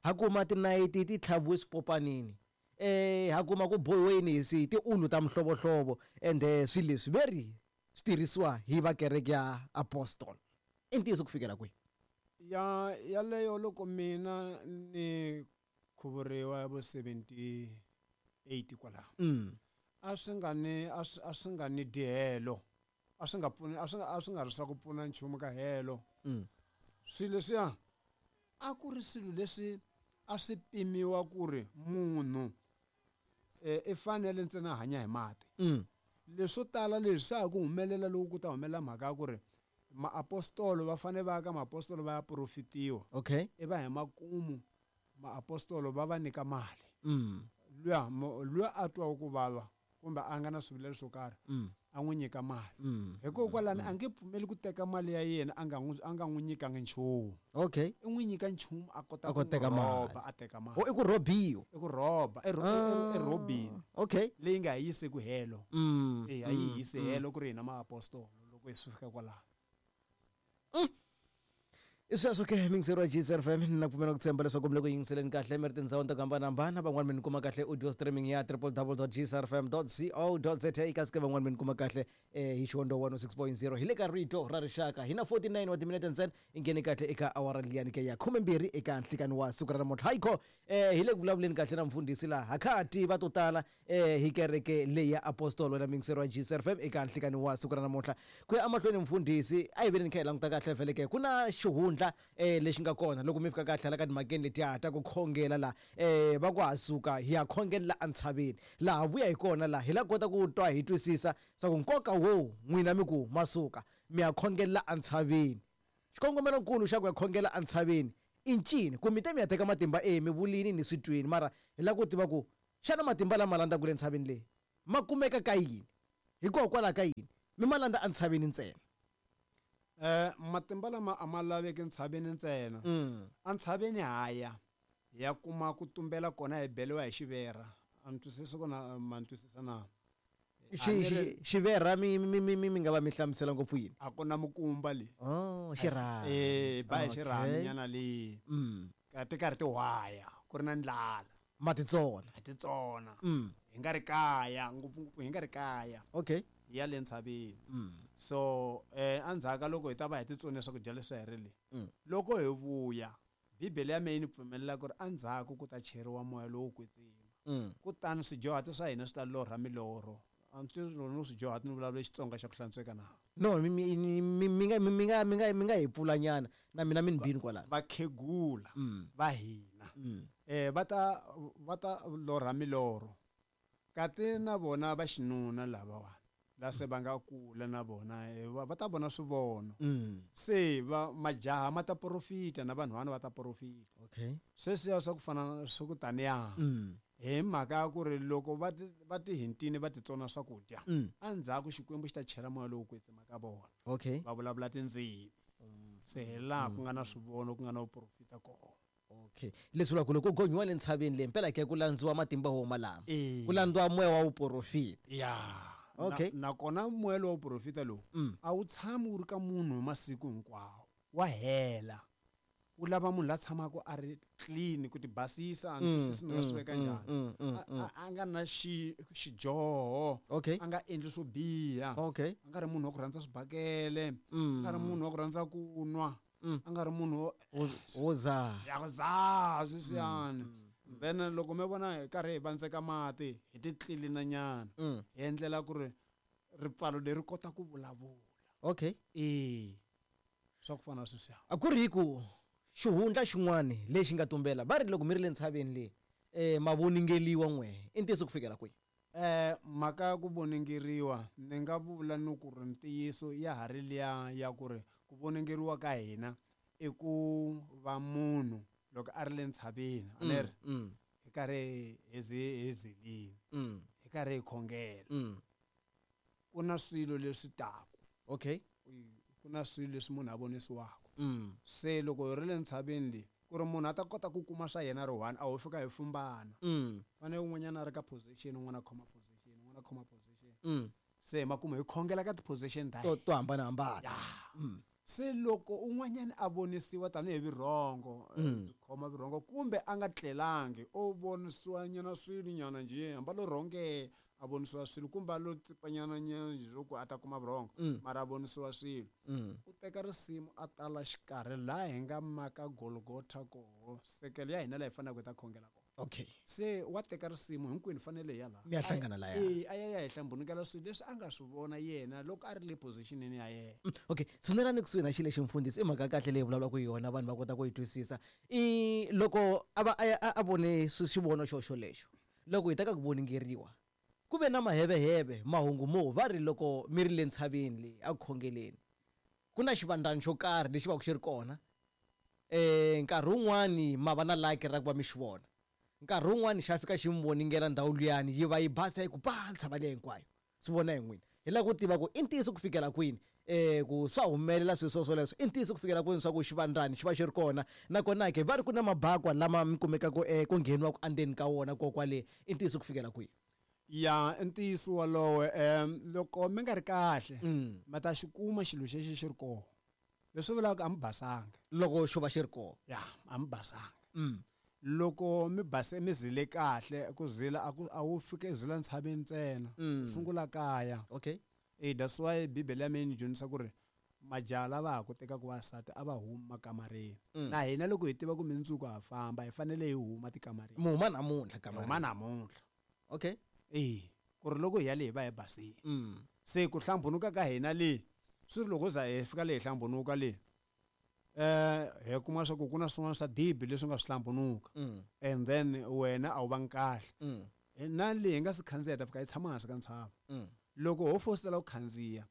Ha kuma tinayiti ti tlhaviwe swipopanini. Eh ha kuma ku bohiweni hi swi tiulu ta mihlovohlovo ende swilo leswi veri swi tirhisiwa hi va kereke ya apostol. I ntiyiso ku fikela kwihi? Ya yaleyo loko mina ni khuvuriwa ya vo seventy eight kwalaho. Mm. A swi nga ni a swi a swi nga ni dihelo. A swi nga pfuni a swi a swi nga ri swa ku pfuna nchumu ka helo. Mm. Swilo leswiya a ku ri swilo leswi a swi pimiwa ku ri munhu eh i fanele ntsena a hanya hi mati. Mm. Leswo tala leswi swa ha ku humelela loko ku ta humelela mhaka ya ku ri maapostolo va fanele va ya ka maapostolo va ya profitiwa. Okay. I va hi makumu maapostolo va va nyika mali. Mm. Luya luya a twaku ku vava kumbe a nga na swivilelo swo karhi Mm. a n'wi nyika mali Mm. hikokwalani a nge pfumeli ku teka mali ya yena a nga n'wi a nga n'wi nyikangi nchumu Okay. i n'wi nyika nchumu a kota A ku kota teka n'wi mali. rhoba a teka mali O i ku rhobiwa. i ku rhoba i ro- i- i- i rhobini Okay. leyi nga hi yisi ku helo Mm. e a yi hisi helo ku ri hina maapostolo loko hi swi fika kwalaho I sweswo ke mingiseri wa G S F M, na pfumela ku tshemba leswaku mi le ku yingiseleni kahle mi ri tindhawini to hambanahambana. Van'wani mi ni kuma kahle audio streaming ya w w w dot g s r f m dot co dot za, kasi ke van'wani mi ni kuma kahle eh, hi xihondo one oh six point zero hi le ka Rito ra Rixaka. Hi na forty-nine wa timinete ntsena i nghene kahle eka awara liyani ke ya khumembirhi eka nhlikani wa siku ra namuntlha. Hayikho eh, hi le ku vulavuleni kahle na mfundhisi laha hakati va to tala eh, hi kereke leyi ya apostolo na mingiseri wa G S R F M eka nhlikani wa siku ra namuntlha. Ku ya emahlweni mfundhisi, a hi veni ni kha hi languta kahle vhele ke ku na xihundla eh, lexi nga kona loko mi fika kahle hala ka timhakeni letiya ta ku khongela laha eh, va ku ha suka hi ya khongelela entshaveni laha vuya hi kona laha hi la kota ku twa hi twisisa swa ku nkoka wo n'wina mi ku masuka mi ya khongelela entshaveni, xikongomelonkulu xa ku ya khongela entshaveni i ncini? Ku mi te mi ya teka matimba e mi vulini ni swi twini, mara hi lava ku tiva ku xana matimba lama landzaka le ntshaveni leyi ma kumeka ka yini, hikokwalaho ka yini mi ma landza entshaveni ntsena? um matimba lama a ma laveki ntshaveni ntsena. Mm. Entshaveni haya hi ya kuma ku tumbela kona, hi beliwa hi xivera. A ni twisisi ku na ma ni twisisa na? Xi- xi- xivera mi mi mi mi mi nga va mi hlamusela ngopfu yini? A ku na mukumba le. Oh, xirhami. Eh, ba hi Okay. xirhami nyana leyi. Mm. Ka ti karhi ti hwaya ku ri na ndlala. Ma titsona. A titsona. Mm. Hi nga ri kaya, ngopfungopfu hi nga ri kaya. Okay. Hi ya le ntshaveni. Mm. So eh endzhaku ka loko hi ta va hi titsone swakudya leswi hi ri le, Mm. loko hi vuya, bibele ya mehe yi ni pfumelela ku ri endzhaku ku ta cheriwa moya lowo kwetsima. Mm. Kutani swijohati swa hina swi ta lorha milorho. A ni tivi no swijohati ni vulavula Xitsonga xa ku hlantsweka na? No, mi mi mi mi nga mi nga mi nga mi nga hi pfula nyana na mina mi ni bini kwalano. Vakhegula Mm. va hina Mm. eh va ta va ta lorha milorho, kati na vona va xinuna lavawani la se va nga kula na vona eh, va va ta vona swivono. Mm. Se va majaha ma ta profita na vanhwana va ta profita. Okay. Sweswiya swa ku fana swa ku taniya. Mm. Hi mhaka ya ku ri loko va ti va ti hintini va titsona swakudya, Mm. endzhaku Xikwembu xi ta chela moya lowo kwetsima ka vona. Okay. Va vulavula tindzimi. Se hi laha ku nga na swivono, ku nga na vuprofita kona. Okay, leswi vulaka ku loko ku gonyiwa le ntshaveni leyi mpela ke ku landziwa matimba wo malama, Eh. ku landziwa moya wa vuprofita. Ya. Okay. Na- nakona moya lowa vuprofita lowu Mm. a wu tshami wu ri ka munhu hi masiku hinkwawo, wa hela. Wu lava munhu la tshamaka a ri clean ku ti basisa. A ni twisisi ni nga swi veka njhani. mm, mm, A- a a nga na xi xidyoho, Okay. a nga endli swo biha, Okay. a nga ri munhu wa ku rhandza swibakele, a Mm. nga ri munhu wa ku rhandza ku nwa, Mm. a nga ri munhu wo Wo- wo zaha. Ya ku zaha sweswiyani. Then loko mi vona hi karhi hi vandzeka mati hi ti tlilina nyana, Mm. hi endlela ku ri ripfalo leri kota ku vulavula. Okay. E swa ku fana na sweswiya. A ku ri ku xihundla xin'wani lexi nga tumbela, va ri loko mi ri le ntshaveni leyi um ma voningeliwa n'we, i ntiyiso ku fikela kwihi? Eh mhaka ya ku voningeriwa, ni nga vula ni ku ri ntiyiso ya ha ri liya ya ku ri ku voningeriwa ka hina i ku va munhu loko a ri le ntshaveni, a ni ri Mm. hi karhi hi zi- hi zilini, Mm. hi karhi hi khongela, Mm. ku na swilo leswi taku. Okay. Ku na swilo leswi munhu a vonisiwaka. Mm. Se loko hi ri le ntshaveni leyi, ku ri munhu a ta kota ku kuma swa yena ri one, a ho fika hi fumbana. Mm. Fanele un'wanyana a ri ka position, un'wana a khoma position, un'wana a khoma position. Mm. Se makumu hi khongela ka ti-position ta to hina. To hambanahambana. Ya. Mm. Se loko un'wanyana a vonisiwa tanihi vurhongo, eh, Mm. khoma vurhongo kumbe a nga tlelangi, o vonisiwa nyana swilo nyana njhe, hambi a lo rhonge a vonisiwa swilo kumbe a lo tsipanyana nyana njhe loko a ta kuma vurhongo, Mm. mara a vonisiwa swilo, Mm. u teka risimu a tala xikarhi laha hi nga maka Golgotha koho, sekele ya hina laha hi faneleke hi ta khongela kona. Okay. Se wa teka risimu hinkwenu, fanele hi ya laha. Mi ya hlangana laya. E a ya ya hi hlambunikela swilo leswi a nga swi vona yena loko a ri le positionini ya yena. Mm, okay, tshunelani kusuhi na xilo lexi mfundhisi, i mhaka ya kahle leyi vulavulaka hi yona, vanhu va kota ku yi twisisa. I loko a va a ya- a a vone swi- xivono xo xolexo, loko hi ta ka ku voningeriwa, ku ve na maheveheve mahungu mo va ri loko mi ri le ntshaveni leyi a ku khongeleni ku na xivandlani xo karhi lexi va ku xi ri kona um nkarhi wun'wani ma va na laki ra ku va mi xi vona. Nkarhi wun'wani xa fika xi mi voningela ndhawu liyani yi va yi basa yi ku pa ntshava liya hinkwayo. Swi vona hi n'wina. Hi lava ku tiva ku i ntiyiso ku fikela kwini eh ku swa humelela swilo swo swoleswo i ntiyiso ku fikela kwini swa ku xivandzani xi va xi ri kona nakona ke va ri ku na mabakwa lama mi kumekaka eh ku ngheniwaku endzeni ka wona ko kwale i ntiyiso ku fikela kwihi. Ya i ntiyiso wolowo um loko mi nga ri kahle Mm. ma ta xi kuma xilo xexi xi ri kona leswi vulaka a mi basanga loko xo va xi ri kona ya a mi basanga Mm. loko mi base mi zile kahle ku zila a ku a wu fike zila ntshaveni ntsena Mm. u sungula kaya okay eh that's why bibele ya mina yi dyondzisa ku ri majaha lava ha ku tekaka vasati a va humi makamareni Mm. na hina loko hi tiva ku mindzuku ha famba hi fanele hi huma tikamareni mi huma namuntlha hi kamareni huma namuntlha okay eh ku ri loko hi ya le hi va hi basile mm. se ku hlambunuka ka hina le swi ri loko za hi fika le hi hlambunuka le eh hi kuma swa ku ku na swin'wana swa dibi leswi nga swi hlambunuka Mm. and then wena a wu vangi kahle Mm. na le hi nga si khandziya hi ta fika hi tshama hansi ka ntshava Mm. loko ho fositela ku khandziya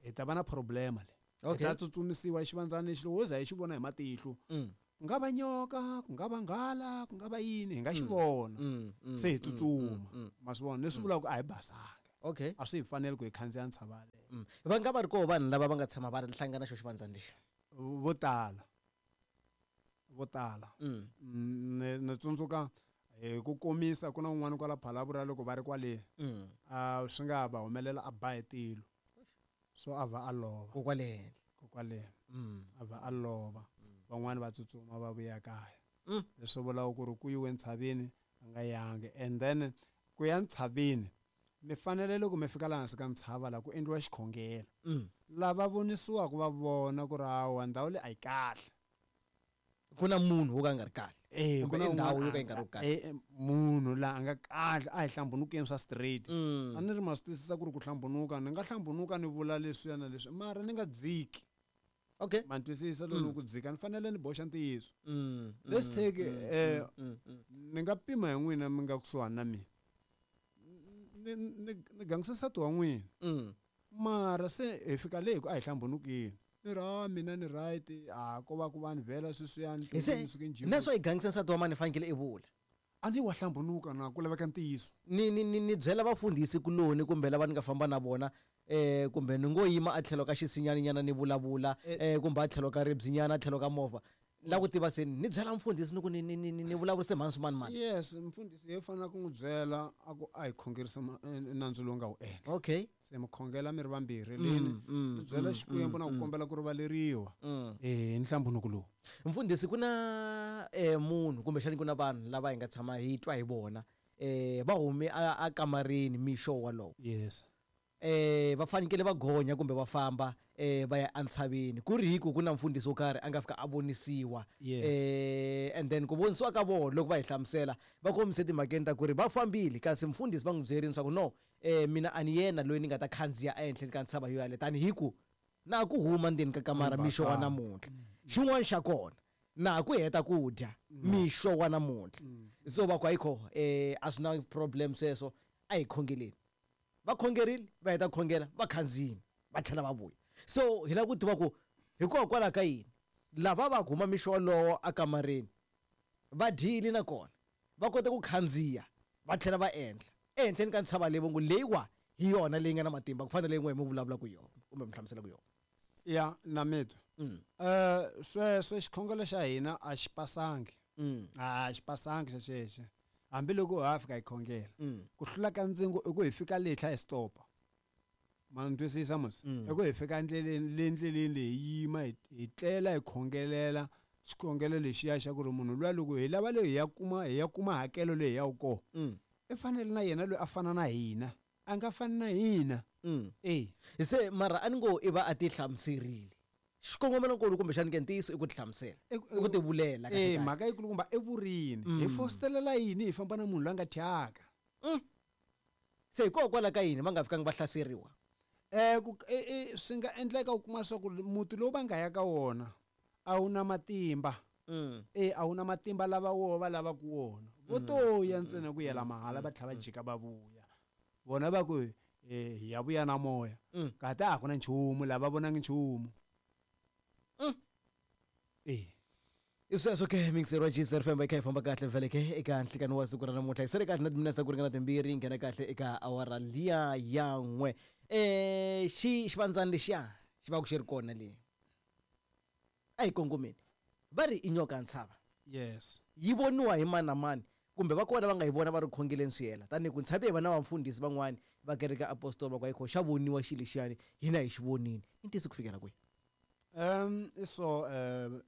hi ta va na problema le hi okay ta tsutsumisiwa xivandzana lexi loko ho za hi xi vona hi matihlo mm. ku nga va nyoka ku nga va nghala ku nga va yini hi nga xi vona Mm. Mm. se hi tsutsuma Mm. ma swi vona leswi vulaka ku a hi basanga okay a swi hi faneli ku hi khandziya ntshava yaleyo Mm. va nga va ri koho vanhu lava va nga tshama va hlangana xo xivandzani lexi vo tala vo tala mm. Mm, ni ni tsundzuka hi ku komisa ku na un'wana kwala Phalaborwa loko va ri kwale Mm. a swi nga va humelela a ba hi tilo so a va a lova ko kwale henhla kokwale mm. a va a lova van'wani va tsutsuma va vuya kaya Mm. leswi vulaka ku ri ku yiwe ntshaveni a nga yangi and then ku ya ntshaveni mi fanele loko mi fika laha hansi ka ntshava laha ku endliwa xikhongelo Mm. lava vonisiwaka va vona ku ri hawa ndhawu leyi a yi kahle ku na munhu wo ka a nga ri kahle Eh, Kumbe ku na i ndhawu un'wana yo ka yi a nga ri nga- kahle. eh, eh, munhu laha a nga kahle a hi hlambunukeni swa straight Mm. a ni ri ma swi twisisa ku ri ku hlambunuka ni nga hlambunuka ni vula leswiya na leswi mara ni nga dziki okay ma ni twisisa loko ku dzika ni fanele ni boxa ntiyiso mm. Let's mm, take, mm, eh, mm, mm, ni nga pima hi n'wina mi nga kusuhani na mina ni ni ni gangisa nsati wa n'wina mm. mara se hi fika le hi ku a hi hlambunukini ni ri a mina ni right a ko va ku vanhu vhela sweswiyani Hi se na swo i gangisa nsati wa mani fanekele i vula a ni wa hlambunuka na ku laveka ntiyiso ni ni ni ni byela vafundhisi kuloni kumbe lava ni nga famba na vona eh kumbe ni ngo yima a tlhelo ka xisinyaninyana ni vulavula eh kumbe a tlhelo ka ribyinyana a tlhelo ka movha la ku tiva se ni byela mfundhisi ni ku ni ni ni ni ni vulavurise mhani swimani mani yes mfundhisi hi fanele ku n'wi byela a ku a hi khongerisa ma- eh, nandzu lowu nga wu endla okay se mi khongela mi ri vambirhi leni mm, mi byela xikwembu na ku kombela ku rivaleriwa mm. eh nhlambunuko lowu mfundhisi ku na eh munhu kumbexani ku na vanhu lava hi nga tshama hi twa hi vona eh va hume a, a kamareni mixo walowo yes eh va fanekele va gonya kumbe va famba eh va ya entshaveni ku ri hi ku ku na mfundhisi wo karhi a nga fika a vonisiwa Yes. eh and then ku vonisiwa ka vona loko va hi hlamusela va kombise timhakeni ta ku ri va fambile kasi mfundhisi va n'wi byerini swa ku no eh mina a ni yena loyi ni nga ta khandziya ehenhleni ka ntshava yo yaleyo tanihi ku na ku huma ndzeni ka kamara mixo wa namuntlha xin'wana xa kona na ku heta ku dya mixo wa namuntlha so va ku ayikho eh a swi na problem sweswo a hi khongeleni va khongerile va heta ku khongela va khandziyile va tlhela va vuya so hi lava ku tiva ku hikokwalaho ka yini lava va huma mixo wolowo akamareni va dyile nakona va kota ku khandziya va tlhela va endla ehenhleni ka ntshava leyi vongo leyiwa hi yona leyi nga na matimba ku fana na leyi n'we mi vulavulaka hi yona kumbe mi hlamuselaka yona ya na mitwa Mm. eh sweswo xikhongelo xa hina a xi pasangi Mm. a xi pasangi xexexi hambiloko ha fika hi khongela Mm. ku hlula ka ndzingo i ku hi fika le hi tlhela hi stopa ma ni twisisa mos Mm. i ku hi fika ndleleni le ndleleni leyi hi yima hi hi tlela hi khongelela xikhongelo lexiya xa ku ri munhu luya loko hi lava leyi hi ya kuma hi ya kuma hakelo leyi hi yaku kona Mm. i fanele na yena loyi a fana na hina a nga fani na hina Mm. e se mara a ni ngo i va a ti hlamuserile xikongomelonkulu kumbexani ke ntiyiso i ku ti hlamusela i ku ti vulela e kahle kahle. mhaka yikulukumba i vurini hi fositelela yini hi famba na munhu loyi a nga thyaka se hikokwalaho ka yini va nga fikangi va hlaseriwa um ku e- e, swi nga endleka u kuma leswaku muti lowu va nga ya ka wona a wu na matimba Mm. e a wu na matimba lava woho va lavaka wona vo to ya ntsena ku yela mahala va tlhela va jika va vuya vona va ku eh, hi ya vuya na moya Mm. kati a ku na nchumu lava vonangi nchumu Mm. e I sweswo ke mixer wa G S F M yi kha yi famba kahle vhele ke eka nhlikani wa siku ra namuntlha, yi sele kahle na timinetse ku ringana timbirhi yi nghena kahle eka awara liya ya n'we. um xi xivandzani lexiya xi va ku xi ri kona le a hi kongomeni, va ri i nyoka ya ntshava. Yes. Yi voniwa hi mani na mani, kumbe va kona va nga yi vona va ri khongeleni swi hela? Tanihi ku ntshavi hi vana va mfundhisi van'wani va kereke apostol va ku ayikho xa voniwa xilo lexiyani, hina hi xi vonini, i ntiyiso ku fikela kwihi? um so um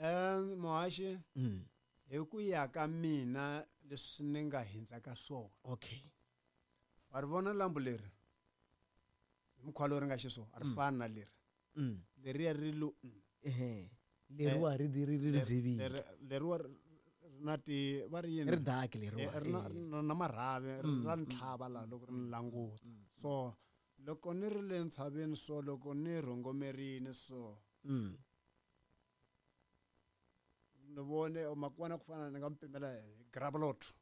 um muhaxi, mm. hi ku ya ka mina, leswi ni nga hindza ka swona, okay wa ri vona lambu leri hi mukhuva lowu ri nga xiswona, a ri fani na leri. mm. Leriya ri lo mm. Ehe, leriwa ri ri ri ri dzivile. Leri- leriwa ri ri na ti va ri yini? Ri dark Eh, leriwa. ri na eh. ri na na marhavi ri Mm, ra mm. ni tlhava laha loko ri ni languta. So loko ni ri le ntshaveni, so loko ni rhongomerini so, Mm. ni vone makwana ku fana ni nga mi pimela hi gravelot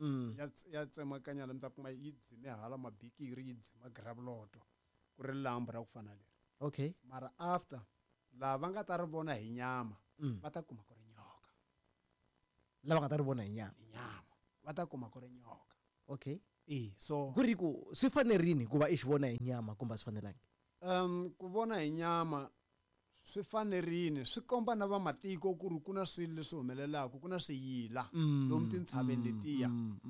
Mm. ya ts- ya tsemakanya la, mi ta kuma yi dzime hala mabikiri, yi dzima gravelot, ku ri lambu ra ku fana leri. Okay mara after laha va nga ta ri vona hi nyama, mm. va ta kuma ku ri nyoka. Lava nga ta ri vona hi nyama. Hi nyama va ta kuma ku ri nyoka. Okay. E so Ku ri ku swi fanerini ku va i xi vona hi nyama kumbe a swi fanelangi? um ku vona hi nyama swi fanerini, swi komba na vamatiko ku ri ku na swilo leswi humelelaka, ku na swiyila lomu tintshaveni letiya.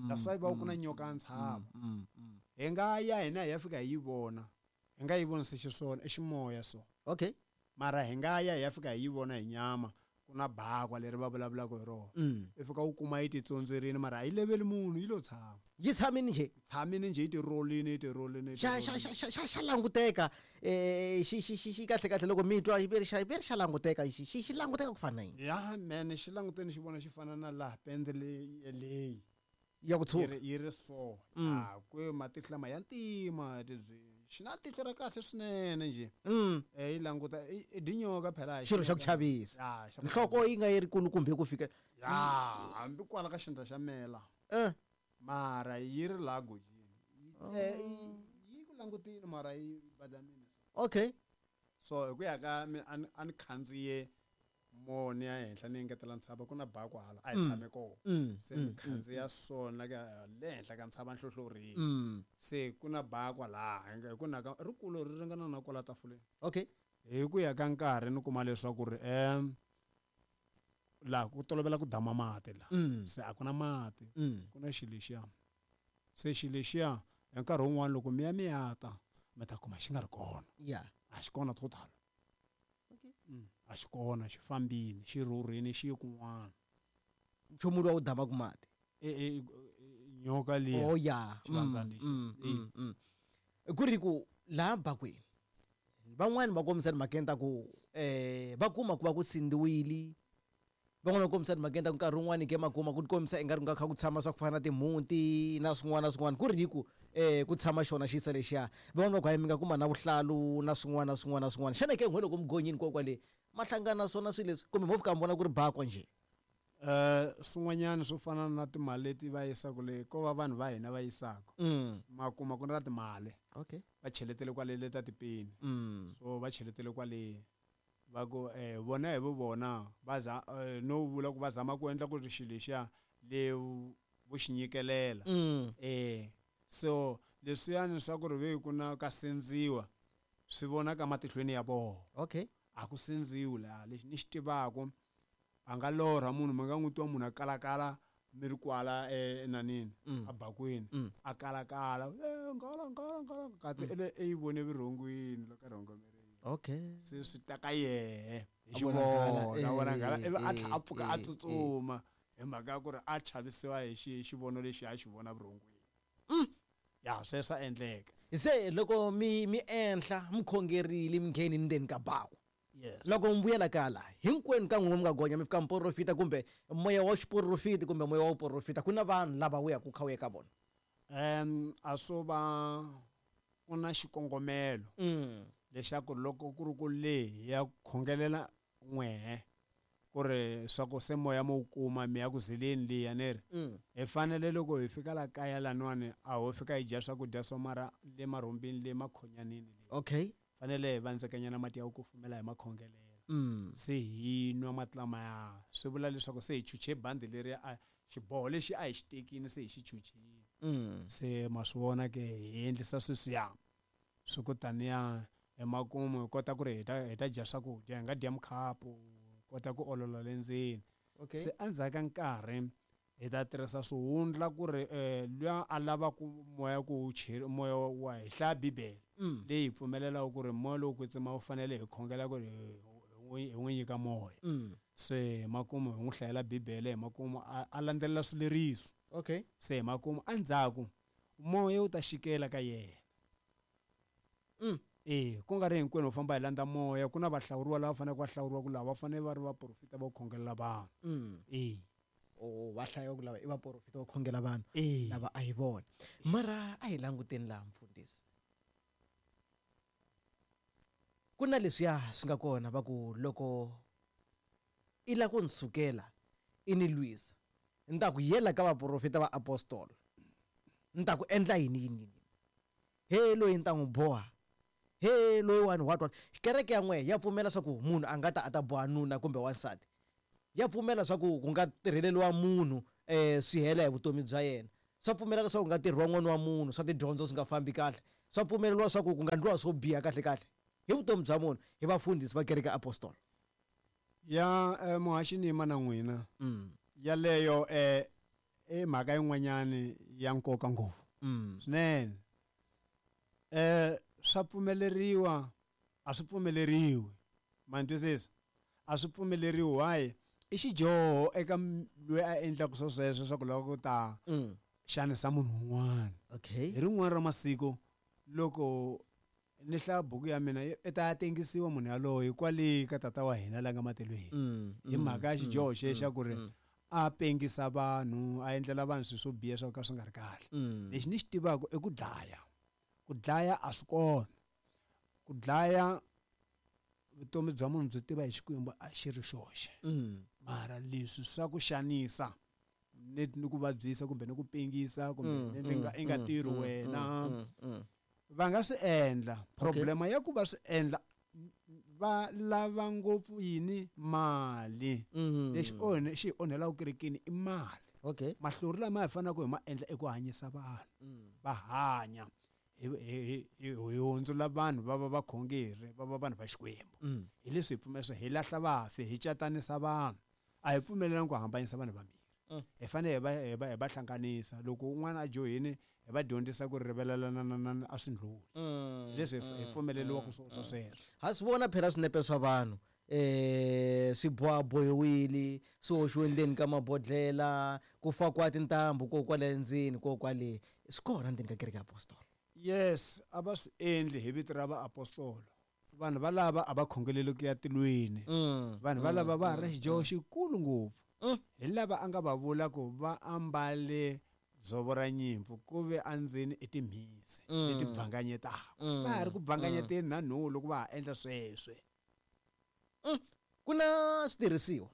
That's why va ku na nyoka ya ntshava. mm, mm. Hi nga ya hina hi ya fika hi yi vona, hi nga yi vonisi xiswona, i ximoya so. Okay mara hi nga ya hi ya fika hi yi vona hi nyama, ku na bakwa leri va vulavulaka hi rona. mm. I fika u kuma yi titsondzerini, mara a yi leveli munhu, yi lo tshama. Yi tshamini njhe? Tshamini njhe, yi tirolini, yi tirolini, yi xa xa tirolini. xa xa xa xa languteka, eh xi xi xi xi kahle kahle loko mi twa xi ri xa ve ri xa languteka, xi xi xi languteka ku fana na yini? Ya mene, xi languteni, xi vona xi fana na laha pende leyi leyi Ya ku yi tshuka. ri yi ri so. Mm. A ku matihlo lama ya ntima tibyi, xi na tihlo ra kahle swinene njhe. mm. Eh, yi languta i i dinyoka phela. Xilo xa ku chavisa. Ya, xa ku Nhloko chavisa. yi nga yi ri kulukumbe ku fika Ya, hambi kwala ka xindla xa mela. Eh Mara yi ri laha gojini. Yi tle- yi yi ku langutile, mara yi badamile so. Okay. So hi ku ya ka mi a ni a ni khandziye moni ya henhla, ni engetela ntshava, ku na bako hala a hi Mm. tshame kona. mm. Se ni khandziya sona ka le henhla ka ntshava nhlohlorini. mm. Se ku na bakwa laha hi nga- hi ku na ka rikulu, ri ringana na kwala tafuleni. Okay hi ku ya ka nkarhi ni kuma leswaku ri um laha ku tolovela ku dama mati la. mm. Se a ku na mati. mm. Ku na xilo lexiya, se xilo lexiya hi nkarhi wun'wani loko mi ya mi ya ta, mi ta kuma xi nga ri kona. Ya. A xi kona total. Okay. Mm, a xi kona, xi fambile, xi rhurhini, xi ye kun'wana. Nchumu lowu wu damaka mati? E, e, e, nyoka liya. Oh ya. Xivandzana lexi. mm, E. mm, mm. Ku ri ku laha bakweni van'wani va kombisa timhakeni ta ku eh va kuma ku va ku sindziwile, van'wani va kombisa timhakeni ta ku nkarhi wun'wani ke makuma ku kombisa ingari ku nga kha ku tshama swa ku fana na timhunti na swin'wana na swin'wana, ku ri hi ku eh ku tshama xona xisa lexiya. Van'wani va ku hayi, mi nga kuma na vuhlalu na swin'wana na swin'wana na swin'wana. Xana ke n'we loko mugonyini kokwale ma hlangana na swona swilo leswi, kumbe mo fika mi vona ku ri bakwa njhe? um swin'wanyana swo fana na timali leti va yisaka le, ko va vanhu va hina va yisaka, mm. ma kuma ku na timali Okay va cheletele kwale le ta tipeni. mm. So va cheletele kwale, va ku eh vona hi vo vona va za eh, no vula ku va zama ku endla ku ri xilo lexiya le vo xi nyikelela. Mm. eh so leswiyani swa ku ri ve ku na ka sindziwa, swi vonaka matihlweni ya vona. Okay. A ku sindziwi laha, lexi ni xi tivaku, a nga lorha munhu, mi nga n'wi twa munhu a kalakala mi ri kwala eh, enanini, Mm. abakweni, Mm. a kalakala, "Eh, ngala ngala ngala," kati mm. ele e yi vone vurhongwini loko a rhongomerile. Okay. Se swi ta ka yehe hi A vona nghala, xivona, a vona nghala, eh, ivi a tlha a eh, pfuka a eh, tsutsuma hi mhaka ya ku ri a chavisiwa hi xi xivono lexi a xi vona vurhongwini. Ya, sweswo swa endleka. Se loko mi mi enhla mi khongerile, mi ngheni ndzeni ka baku, Yes. loko mi vuyela kala hinkwenu ka n'wina mi nga gonya, mi fika miporofita kumbe moya wa xiporofiti kumbe moya wa vuporofita, ku na vanhu lava wu yaku kha wu ya ka vona? um a swo va ku na xikongomelo mm. leswaku loko ku ri ku le hi ya khongelela n'wehe ku ri swa ku se moya mo wu kuma, mi ya ku zileni liya ni ri, Mm. hi fanele loko hi fika la kaya laniwani, a ho fika hi dya swakudya swo, mara le marhumbini le makhonyanini le, Okay fanele hi vandzekanyana mati ya ku kufumela, hi makhongelela. Mm. Se hi nwa mati lamaya swi vula leswaku se hi chuche bandi leri a xiboho lexi a hi xi tekini se hi xi chuchile. Mm. Se ma swi vona ke hi endlisa sweswiya swi ku taniya emakumu hi kota ku ri hi ta hi ta dya swakudya hi nga dya mukhapu kota ku olola le ndzeni. Okay. Se endzhaku ka nkarhi hi ta tirhisa swihundla ku ri um luya a lavaku moya ku wu cheri moya wa hi hlaya bibele Mm. leyi hi pfumelelaka ku ri moya lowu kwetsima wu fanele hi khongela ku ri hi n'wi hi n'wi nyika moya. Mm. Se hi makumu hi n'wi hlayela bibele hi makumu a, a landzelela swileriso. Okay. Se hi makumu endzhaku moya wu ta xikela ka yena. Mm. E ku nga ri hinkwenu u famba hi landza moya ku na vahlawuriwa lava faneleke va hlawuriwa ku lava va fanele va ri vaprofita va khongelela vanhu. Mm. E. O va hlaya ku lava i vaprofita va khongela vanhu E. lava a hi vona. Mara a hi languteni laha mfundhisi. Ku na leswiya swi nga kona va ku loko i la ku ni sukela i ni lwisa ni ta ku yela ka vaprofita va apostolo ni ta ku endla yini yini yini he loyi ni ta n'wi boha he loyi wani what what. Kereke ya n'we ya pfumela swa ku munhu a nga ta a ta boha nuna kumbe wansati, ya pfumela swa ku ku nga tirheleriwa munhu um swi hela hi vutomi bya yena, swa pfumeleka swa ku nga tirhiwa n'wana wa munhu swa tidyondzo swi nga fambi kahle, swa pfumeleriwa swa ku ku nga ndliwa swo biha kahle kahle hi vutomi bya munhu hi vafundhisi va kereke apostolo. Ya eh, muhaxi ni yima na n'wina. Mm. Yaleyo eh i mhaka yin'wanyani ya nkoka ngopfu. Mm. Swinene. Eh swa pfumeleriwa a swi pfumeleriwi. Ma ni twisisa? A swi pfumeleriwi why? I xidyoho eka loyi a endlaka swo sweswo swa ku lava ku ta Mm. xanisa munhu un'wana. Okay. Hi rin'wana ra masiku loko ni hlaya buku ya mina i ta ya tengisiwa munhu yaloye kwale ka tata wa hina la nga matilweni. Mm, Hi mhaka ya xidyoho mm, xexo xa ku ri mm, a pengisa vanhu a endlela vanhu swilo swo biha swo ka swi nga ri kahle. Mm. Lexi ni xi tivaka i ku dlaya. Ku dlaya a swi kona. Ku dlaya vutomi bya munhu byi tiva hi Xikwembu a xi ri xoxe. Mm. Mara leswi swa ku xanisa ni ni ku vabyisa kumbe ni ku pengisa kumbe Mm, ni nga i nga mm, tirhi mm, wena. mm, mm. Va nga swi endla. Okay. Problema ya ku va swi endla va lava ngopfu yini mali. Mm. Lexi onhe xi hi onhelaka kerekeni i mali. Okay. Mahlori lama hi faneleke hi ma endla i ku hanyisa vanhu. Mm. Va hanya. Hi hi hi hi hundzula vanhu va va vakhongeri va va vanhu va Xikwembu. Mm. Hi leswi hi pfumela hi lahla vafi hi catanisa vanhu. A hi pfumelelani ku hambanyisa vanhu vambirhi. Mm. Hi fanele hi va hi va hi va hlanganisa loko un'wana a johini hi va dyondzisa ku rivalelana a swi ndlhuli. Mm, Leswi hi mm, pfumeleriwaka mm, swo mm. swo sweswo. Ha swi vona phela swinepe swa vanhu eh swi bohabohiwile swi hoxiwe ndzeni ka mabodhlela ku fakiwa tintambu ko kwale ndzeni ko kwale swi kona ndzeni ka kereke ya apostolo. Yes, a va swi endli hi vito ra vaapostolo. Vanhu valava a va khongeleli ku ya tilweni. Mm, Vanhu valava va ha ri na xidyoho xikulu ngopfu. Mm. Hi lava a nga va vula ku va ambale dzovo ra nyimpfu ku ve endzeni i timhisi Mm. leti bvanganyetaka. Mm. Va ha ri ku bvanganyeteni na nhulu loko va ha endla sweswe. Mm. Ku na switirhisiwa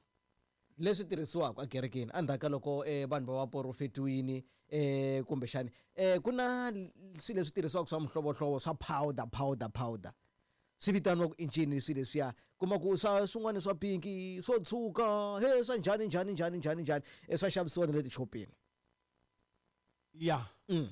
leswi tirhisiwaka ekerekeni endzhaku ka loko eh, vanhu va va porofetiwini eh, kumbexani eh, ku na swilo leswi tirhisiwaka swa mihlovohlovo swa powder powder powder swi vitaniwa ku i ncini swilo leswiya kuma ku swa swin'wana swa pinki swo tshuka he swa njhani njhani njhani njhani njhani eh, swa xavisiwa na le tixopeni. Ya. Mm.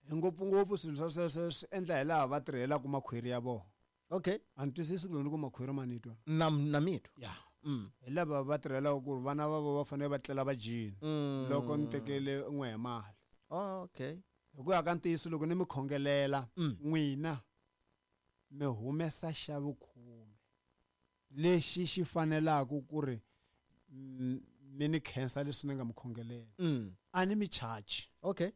Hi ngopfungopfu swilo swa sweswo swi endla hi laha va tirhelaka makhwiri ya vona. Okay. A ni twisisi ku loko ni ku makhwiri ma ni twa. Na na mitwa. Ya. Mm. Hi lava va tirhelaka ku ri vana va vona va fanele va tlela va dyile. Mm. Loko ni tekele n'we hi mali. Oh, okay. Hi ku ya ka ntiyiso loko ni mi khongelela Mm. n'wina mi humesa xa vukhume lexi xi fanelaka ku ri mi ni khensa leswi ni nga mi khongelela. Mm. A ni mi charge. Okay.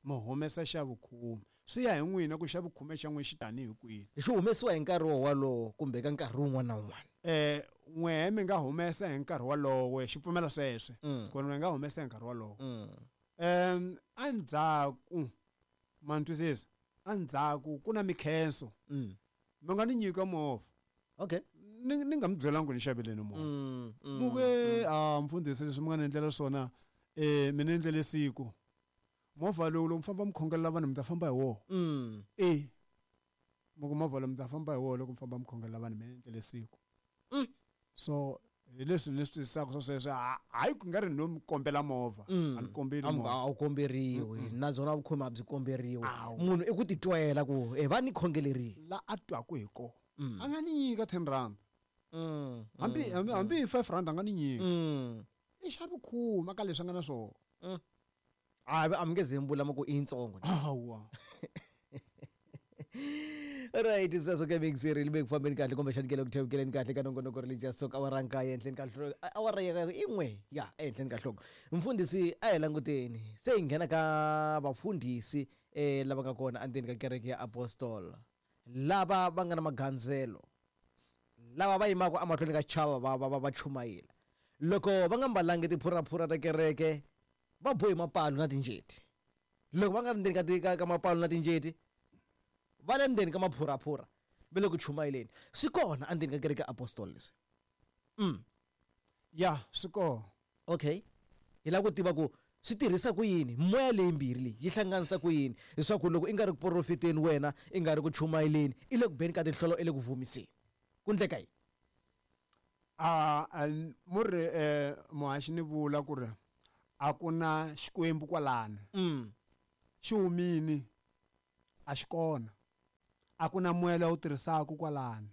Mi humesa xa vukhume. Swi ya hi n'wina ku xa vukhume xa n'wina xi tanihi kwihi. Xi humesiwa hi nkarhi wo walowo kumbe ka nkarhi wun'wana na wun'wana. Eh n'wehe mi nga humesa hi nkarhi walowo xi pfumela sweswe. Mm. Ku mi nga humesa hi nkarhi walowo. Mm. Em endzhaku ma ni twisisa? Endzhaku ku na mikhenso. Mm. Mi nga ni nyika movha. Okay. Ni ni nga mi byelangi ku ni xaveleni movha. Mm, mm, Mu ku a mfundhisi leswi mi nga ni endlela swona eh mi ni endlele siku. Movha lowu loko mi famba mi khongelela vanhu mi ta famba hi wona. Mm. E. Mi ku movha lowu mi ta famba hi wona loko mi famba mi khongelela vanhu mi ni endlele siku. Mm. So hi leswi ni swi twisisaka swa sweswo, hayi ku nga ri no mi kombela movha, Mm. a ni kombeli A mi- movha. a wu komberiwi, nabyona vukhomi a byi komberiwi. Awu. Munhu i ku titwela ku e va ni khongelerile. La a twaku hi kona, Mm. a nga ni nyika ten rand, Mm, hambi mm, hambi hambi hi five rand a nga ni nyika. mm. I xa vukhuma ka leswi a nga na swona. A a mi nge ze mi vula ma ku i yitsongo. Hawa. Right, sweswo ke mixeri li ku fambeni kahle, kumbexani ke le ku thewukeleni kahle ka nongonoko Religious Talk, awara nkaye ehenhleni ka nhloko, awara ya i n'we ya ehenhleni ka nhloko. Mfundhisi, a hi languteni se hi nghena ka vafundhisi um lava nga kona endzeni ka kereke ya Apostol, lava va nga na magandzelo, lava va yimaka emahlweni ka chava va va va va chumayela. Loko va nga mbalangi tiphuraphura ta kereke, va bohi mapalo na tinjeti. Loko va nga ri ndzeni ka ti- ka ka mapalo na tinjeti, va le ndzeni ka maphuraphura, va le ku chumayeleni. Swi kona endzeni ka kereke ya Apostol leswi? mm. Ya, swi kona. Okay, hi lava ku tiva ku swi tirhisa ku yini moya leyimbirhi leyi yi hlanganisa ku yini, leswaku loko i nga ri ku porofeteni wena, i nga ri ku chumayeleni, i le ku beni ka tinhlolo, i le ku vumiseni, ku ndleka yini? A a- mu ri eh muhaxi, ni vula ku ri a ku na Xikwembu kwalano. mm. Xi humini, a xi kona. A ku na moya lowu tirhisaka kwalano,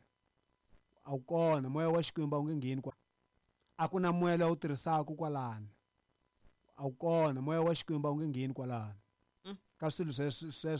a wu kona moya wa Xikwembu, a wu nge ngheni kwa. A ku na moya lowu tirhisaka kwalano, a wu kona moya wa Xikwembu, a wu nge ngheni kwalano Mm. ka swilo sweswo sweswo.